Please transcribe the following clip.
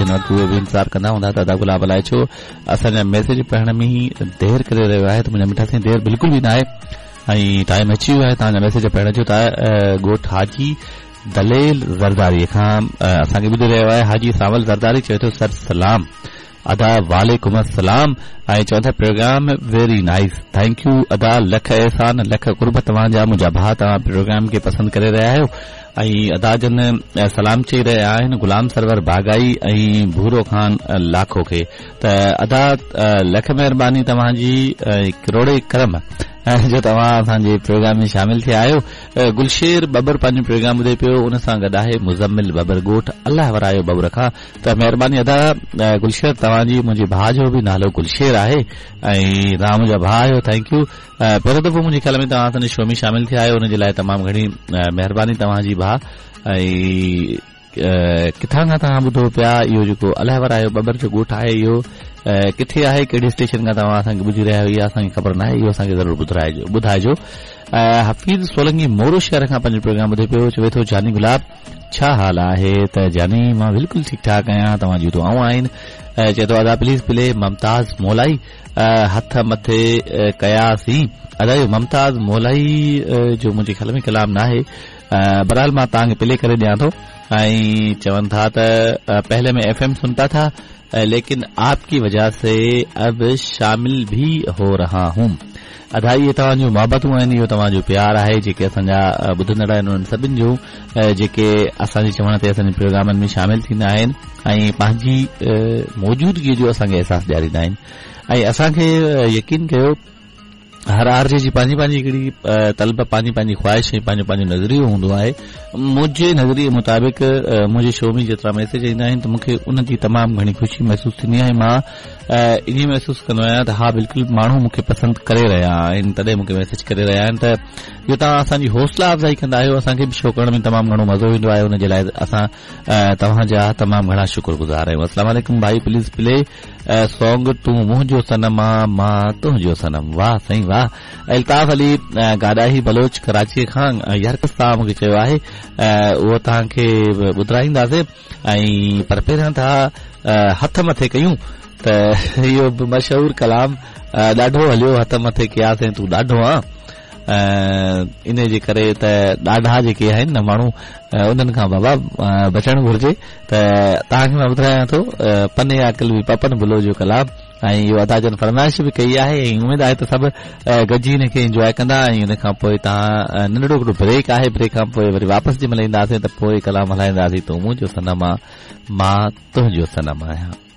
هن وقت اهي به انتظار ڪندا هوندا ته ادا گلاب الائي ڇو اسان جا ميسيج پڙهڻ ۾ ئي دير ڪري رهيو آهي ته منهنجا مٺا سائين دير بلڪل به ناهي ۽ ٽائيم اچي ويو آهي توهان جا ميسيج پڙهڻ جو ته ڳوٺ حاجي دليل زرداري کان اسان کي ٻڌي رهيو آهي حاجي سانول زرداري چوي ٿو سر سلام ادا وعليڪم السلام ۽ چون ٿا programme very nice thank you ادا لک احسان لک قرب توهان جا منهنجا ڀاء توهان پروگرام کي پسند ڪري رهيا آهيو ۽ ادا جن سلام چئي رهيا آهن غلام سرور باغائي ۽ ڀورو خان لاکو کي ته ادا لک مهرباني توهان جي ڪروڙين ڪرم جو توهان اسان جي پروگرام ۾ شامل ٿيا آهيو گلشير ٻٻر پنهنجو پروگرام ٻڌي پيو ان سان گڏ آهي مزمل ٻٻر ڳوٺ الله ورايو ٻٻر کان ته مهرباني ادا گلشير توهان جي منهنجي ڀاء جو به نالو گلشير آهي ۽ توهان منهنجا ڀاء آهيو thank you پهريون دفعو منهنجي خيال ۾ توهان اسان جي شو ۾ شامل ٿيا آهيو ان جي لاء تمام گهڻي مهرباني توهان جي ڀاء ۽ ڪٿان کان توهان ٻڌو پيا اهو جيڪو الهه ورايو ٻٻر جو ڳوٺ آهي اهو ڪٿي آهي ڪهڙي اسٽيشن کان توهان اسان کي ٻڌي رهيا آهيو اها اسان کي خبر ناهي اهو اسان کي ضرور ٻڌرائجو ٻڌائجو حفيظ سولنگي مورو شهر کان پنهنجو پروگرام ٻڌي پيو چوي ٿو جاني گلاب ڇا حال آهي ته جاني مان بلڪل ٺيڪ ٺاڪ آهيان توهان جون دعائون آهن چئي ٿو ادا پليز پلي ممتاز مولائي هٿ مٿي ڪياسين ادا اهو ممتاز مولائي جو منهنجي خيال ۾ ڪلام ناهي بهرحال مان توهان کي پلي ڪري ڏيان ٿو ۽ چون ٿا ته پهلي مين ايف ايم سنتا ٿا ليڪن آپ ڪي وجه سي اب شامل ڀي هو رها هون ادا اهي توهان جون محبتون آهن اهو توهان جو پيار آهي جيڪي اسان جا ٻڌندڙ آهن انهن سڀن جو جيڪي اسان جي چوڻ تي اسان جي پروگرامن ۾ شامل ٿيندا آهن ۽ پنهنجي موجودگي جو اسان کي احساس ڏياريندا آهن ۽ اسان کي يقين ڪيو هر آر جي جي پنهنجي پنهنجي هڪڙي طلب پنهنجي پنهنجي خواهش ۽ پنهنجو پنهنجو نظريو هوندو آهي منهنجي نظريي مطابق منهنجي شو ۾ جيترا ميسيج ايندا آهن ته مون کي ان جي تمام گهڻي خوشي محسوس ٿيندي آهي مان ائين محسوس ڪندو آهيان ته ها بلڪل ماڻهو مون کي پسند ڪري رهيا آهن تڏهن مون کي ميسيج ڪري رهيا آهن ته اهو توهان اسان جي حوصلا افزائي ڪندا آهيو اسان کي به شو ڪرڻ ۾ تمام گهڻو مزو ايندو آهي ان جي لاء اسان توهان جا تمام گهڻا شڪر گذار آهيون السلام عليڪم ڀائي پليز پلي سونگ تون منهنجو صنم آ مان تنهنجو صنم واه سائين واه الطاف علي گاڏاهي بلوچ ڪراچي کان يار ڪس توهان مونکي چيو آهي اهو توهان کي ٻڌرائينداسين ۽ پر پهريان ٿا هٿ مٿي ڪيون ته اهو به مشهور ڪلام ڏاڍو هليو هٿ مٿي ڪياسين تون ڏاڍو آن انهي جي ڪري ته ڏاڍا جيڪي آهن نه ماڻهو انهن کان بابا بچڻ گهرجي ته توهان کي مان ٻڌايان ٿو پني عاقل به پپن بلو جو ڪلام ۽ اهو ادا جن فرمائش به ڪئي آهي ۽ اميد آهي ته سڀ گڏجي هن کي انجواء ڪندا ۽ ان کان پوء توهان ننڍڙو هڪڙو بريڪ آهي بريڪ کان پوء وري واپس جنهن مهل اينداسين ته پوء ڪلام هلائينداسين تون منهنجو صنم آ مان تنهنجو صنم آهيان.